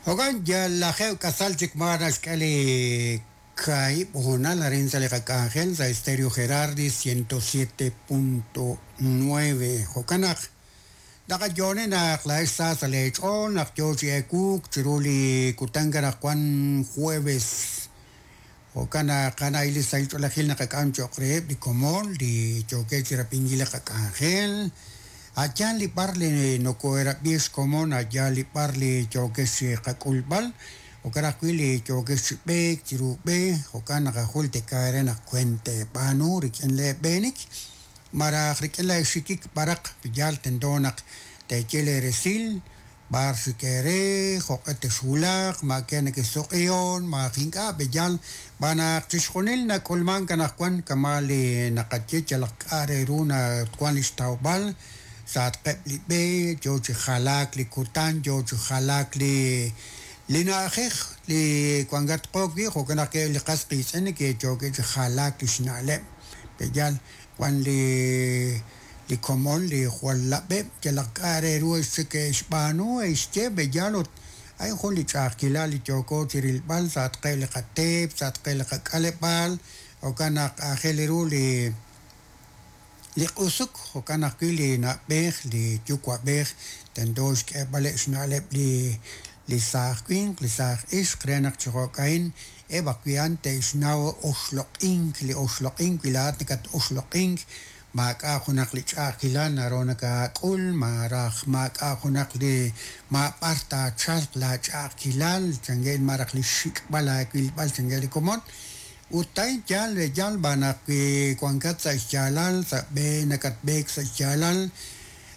Jo'kan yal lajeeb' k'asal chik ma naxk'e li kaahib' hoonal arin sa' li qak'anjel sa' Estéreo Gerardi 107.9. Jo'kan naq naqayo'oni naq laa'ex sa sa' leech'ool naq yo chi ewuuk chiru li kutan anaqwan jueves. Jo'kan naq a'an li sahil ch'oolejil naqak'am cho'q reheb' li komon li yookeb' chi rab'inkil li qak'anjel. A' yaal li b'ar li nokoherab'i xkomon, a' yaal li b'ar li yookex chi qak'ulb'al, jo'kan ajwi' li yookex chi b'eek chiru b'e, jo'kan naqajultika eere naq weent teeb'aanu rik'in leeb'eenik malaj rik'in leexikik b'araq yaal tento naq teeye leeresil b'ar xik eere, jo'q'e texwulaq, ma ke nekexsuq'ihon, malaj ink'a' b'eyal, xb'aan naq chixjunil nak'ulmank anaqwan kama' li naqaye yalaq k'a' re ru nawan li xtawb'al sa'atqeb' li b'e, yo chi jalaak li kutan, yo chi jalaak li li na'ajej li wankatqo wi', jo'kan naq li qas qiitz'in neke'yookeb' chi jalaak li xna'leb', b'eyal wan li li komon li jwal lab'eb' yalaq k'a' re ru xe'xb'aanu xye b'eyal ut a'in jun li ch'a'ajkilal li yooko chi rilb'al sa'atqeb' li qateep, sa'atqeb' li qak'aleb'aal, jo'kan naq aajel ru li li q'usuk, jo'kan ajwi' li na'b'ej, li yuwa'b'ej tento xk'eeb'aleb' xna'leb' li li saaj winq, li saaj ixq re naq chi jo'ka'in eb' ajwi' a'an te'xnaw oxloq'ink, li oxloq'ink wi laa'at nakat-oxloq'ink maak'a' junaq li ch'a'ajkilal naru nakak'ul, malaj maak'a' junaq li maab'ar taachalq laach'a'ajkilal chanke' malaj li xxik'b'al aawilb'al chanke' li komon. Ut a'in yaal yaal b'an naq wi wankat sa' xyaalal, sa' b'e nakatb'eek sa' xyaalal,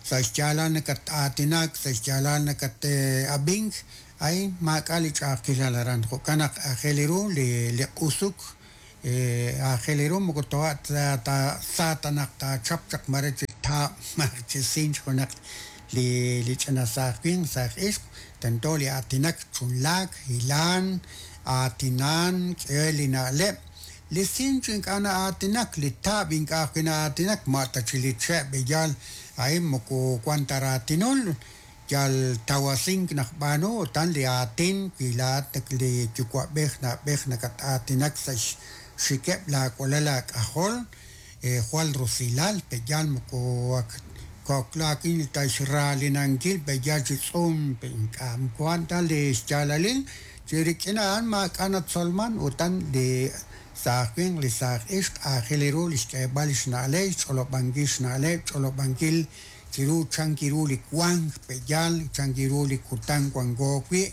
sa' xyaalal nakat-aatinak, sa' xyaalal nakat-ab'ink, a'in maak'a' li ch'a'ajkilal aran. Jo'kan naq aajel ru li li q'usuk, aajel ru moko toja' ta sa ta naq taachap chaq mare chi taab' malaj chi sinch junaq li li ch'ina saaj winq, saaj ixq, tento li aatinak, chunlaak, hilan, aatinan, k'e li na'leb'. Li sinch ink'a' na'aatinak, li taab' ink'a' ajwi' na'aatinak, ma' ta chi li che' b'eyal a'in moko wan ta raatinul, yal tawasink naqb'aanu utan li aatin wi laa'at li yuwa'b'ej na'b'ej nakat-aatinak sa' xxikeb' laawalal aak'ajol, jwal rusilal b'eyal moko ak koklaakin ta xraalinankil b'eyal chi tz'uum ink'a' moko a'an ta li xyaalalil chi rik'in a'an maak'a' natzolman utan li saaj winq, li saaj ixq aajel ru li xk'eeb'al xna'leb', xch'olob'ankil xna'leb', ch'olob'ankil chiru chan ru li wank b'eyal, chan ru li kutan wanko wi',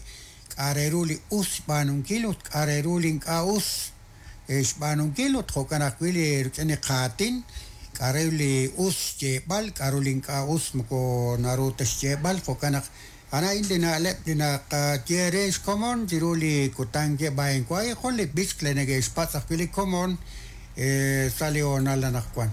k'a' re ru li us xb'aanunkil ut k'a' re ru li ink'a' us xb'aanunkil ut jo'kan ajwi' li rik'in li qaatin, k'a' re li us xyeeb'al, k'a' ru li ink'a' us moko naru ta xyeeb'al, jo'kan naq a'an li na'leb' li naqaye re xkomon chiru li kutan ke'b'a'in wa' jun li b'ich li neke'xpatz' ajwi' li komon sa' li hoonal anaqwan.